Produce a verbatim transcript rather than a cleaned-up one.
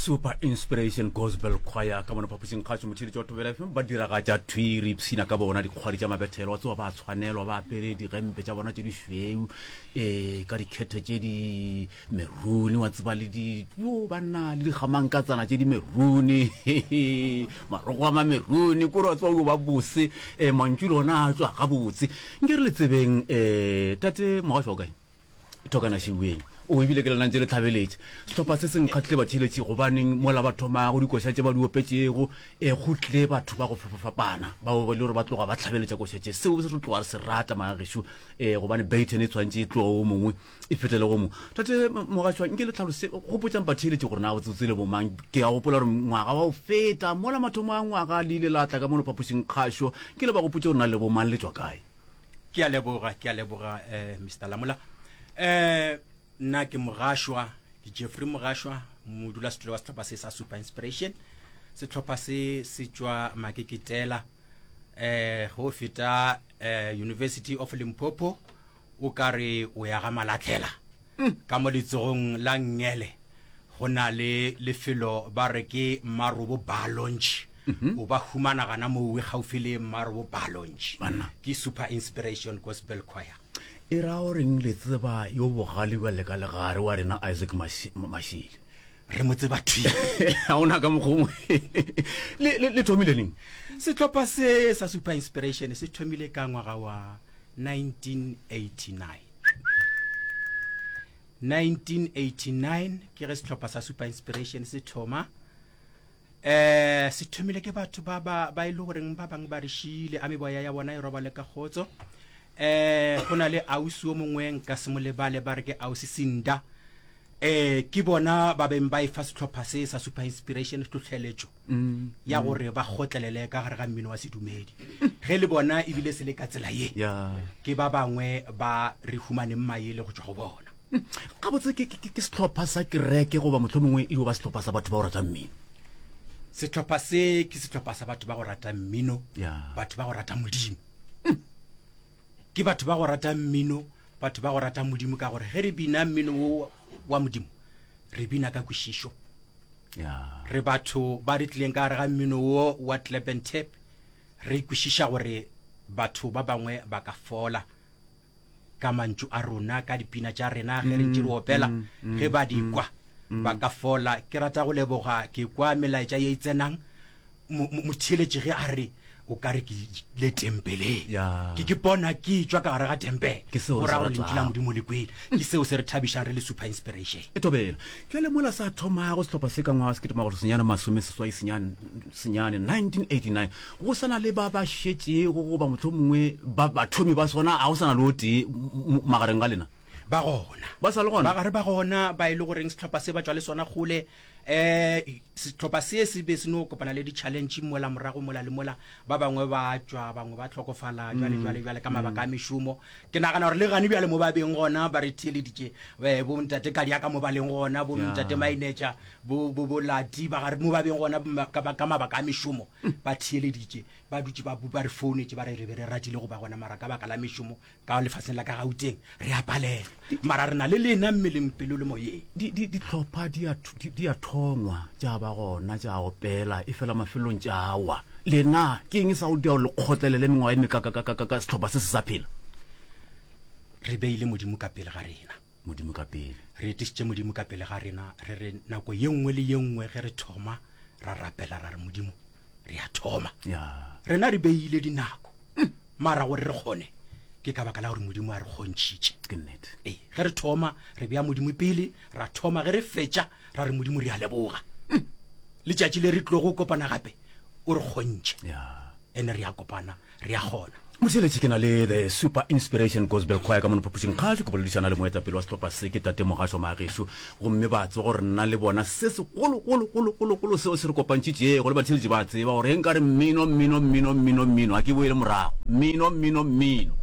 Super Inspiration Gospel Choir ka mona phapošing kgašo motheeletši wa Thobela F M ba diragatša thwi re ipshina ka bona dikgwadi tša mabethelo wa tsewa ba tshwanelwa ba apere digempe tša bona tše dišweu um ka dikhethe tše di merune wa tseba le di yo banna le digamankatsana tše di merune marogo a mamerune kore wa tseba o ba bose um mantšu le ona a tswa gabotse nke re le tsebeng um tate mogašo o kae thokana šiweng o ebile ke lena ntse le tlhabeletše sehlopha se se nkgatlile batheeletši gobaneng mola ba thomago dikoša tše ba di opetšego e go tle batho ba go fapafapana bao ba le gore ba tloga ba tlhabeletša koša tše seo se re tloga re se rata magagešo um gobane baton e tshwanetse e tloga o mongwe e fetele go mongwe tate mogašwa nke le tlhalose gopotšang batheeletši gore na botsotse le bomang ke a gopola gore ngwaga wa go feta mola mathomo a ngwaga le ile la tla ka mono phapošing kgašo ke le ba gopotse gore na le bomang le tšwa kae. Ke a leboga, ke a leboga eh, Mister Lamola. Eh, nna ke Mogašwa, ke Jeffrey Mogašwa, modulasetulo wa sehlopha se sa Super Inspiration. Sehlopha se se tšwa Makeketela, eh, go feta eh, University of Limpopo, o ka re o ya ga Malatlhela. Ka mo letsogong la nngele go na le lefelo ba re ke Mmarobo Bar Lounge. O ba humana gana mowe gaufi le Mmarobo Bar Lounge. Banna. Ke Super Inspiration Gospel Choir. E ra o reng le tseba yo bogale bjale ka legare wa rena Isaac Mashile? Re mo tseba thwi. Ga ona ka mokgongwe. Le, le, le thomile neng? Sehlopha se sa Super Inspiration se thomile ka ngwaga wa nineteen eighty-nine. nineteen eighty-nine ke ge sehlopha sa Super Inspiration se thoma. Eh, se thomile ke batho ba, ba, ba e le goreng ba bangwe ba re šile, a meboya ya bona e robale ka kgotso. Eh, go na le ausi o mongwe nka se mo lebale, ba re ke ausi Sinda. Eh, ke bona ba beng ba e fa sehlopha se sa Super Inspiration tlhohleletšo Mm, ya mm. gore ba kgotlelele ka gare ga mmino wa sedumedi. Ge le bona ebile se le ka tsela ye, Ya. ke ba bangwe ba re humaneng maele go tšwa go bona. Mm. Gabotse ke, ke, ke sehlopha sa kereke goba mohlomongwe e yo ba sehlopha sa batho ba go rata mmino? Sehlopha se ke sehlopha sa batho ba go rata mmino, Ya. batho ba go rata Modimo. Ke batho ba go rata mmino, batho ba go rata Modimo, ka gore ge re bina mmino wo wa Modimo, re bina ka kwešišo. Ya. Re batho ba re tlileng ka gare ga mmino wo wa clap and tap, re kwešiša gore batho ba bangwe ba ka fola ka mantšu a rona, ka dipina tša rena, ge re ntše re opela, Mm, mm, ge ba di mm, kwa mm. ba ka fola. Ke rata go leboga, ke kwa melaetša ye e tsenang, mo-, mo-, motheeletši ge a re o ka re ke le tempeleng. Ya. Ke ke bona ke tšwa ka gare ga tempele. Ke seo Go re ra se gore lentšu la ratago. Modimo le kwele. Ke seo se re thabišang re le Super Inspiration. E thobela. Bjale mola sa thomago sehlopha se ka ngwaga wa sekete makgolo senyane masome seswai senyane, senyane, nineteen eighty-nine, go sa na le ba ba šetšego goba mohlomongwe ba bathomi ba sona, ga go sa na le o tee m-, m-, magareng ga lena? Ba gona. Ba sa le gona? Ba gare ba gona, ba e le goreng sehlopha se ba tšwa le sona kgole. Eh, sehlopha se se be se no kopana le di-challenge mola morago mola le mola, ba bangwe ba tšwa, bangwe ba hlokofala, jwale, Mm, jwale, jwale ka mabaka a mm. mešomo. Ke nagana gore le gane bjale mo ba beng gona ba re theeleditše, eh, bo ntate Kadiaka mo ba leng gona, bo Ya. ntate Mainetša, bo, bo, bo Lati, ba gare mo ba beng gona, ma-, ka, ka mabaka a mešomo ba theeleditše, ba dutše ba, ba re founetše, ba re re be re ratile go ba gona, mara ka baka la mešomo ka lefaseng la ka Gauteng re a palelwa, mara re na le lena mmeleng, pelo le moyeng. Di, di, dihlopha di a, di, di a thongwa, tša ba gona, tša opela, e fela mafelong tša wa. Lena ke eng sa go dia gore le kgotlelele mengwaga e mekakakakaka sehlopha se se sa phela? Re beile Modimo ka pele ga rena. Modimo ka pele. Re etišitše Modimo ka pele ga rena, re re nako ye nngwe le ye nngwe ge re thoma ra rapela ra re Modimo re a thoma. Ya. Rena re beile dinako, mara gore re kgone ke ka baka la gore Modimo a re kgontšhitše. Ke nnete. Ee, ge re thoma re bea Modimo pele, ra thoma, ge re fetša ra re Modimo re a leboga. Letšatši le re tlogo kopana gape o re kgontšhe. Ya. Ene re a kopana, re a kgona. Motheeletši, ke na le The Super Inspiration Gospel Choir ka mono phapošing kgašo, ke boledišana le moetapele wa sehlopha se, ke Tate Mogašo Magesho, gomme ba tseba gore nna le bona se segologologologologolo seo se re kopantšhitšego le batheeletši ba tseba gore ge nka re mmino, mmino, mmino, mmino, mmino, ga ke boele morago. Mmino, mmino, mmino.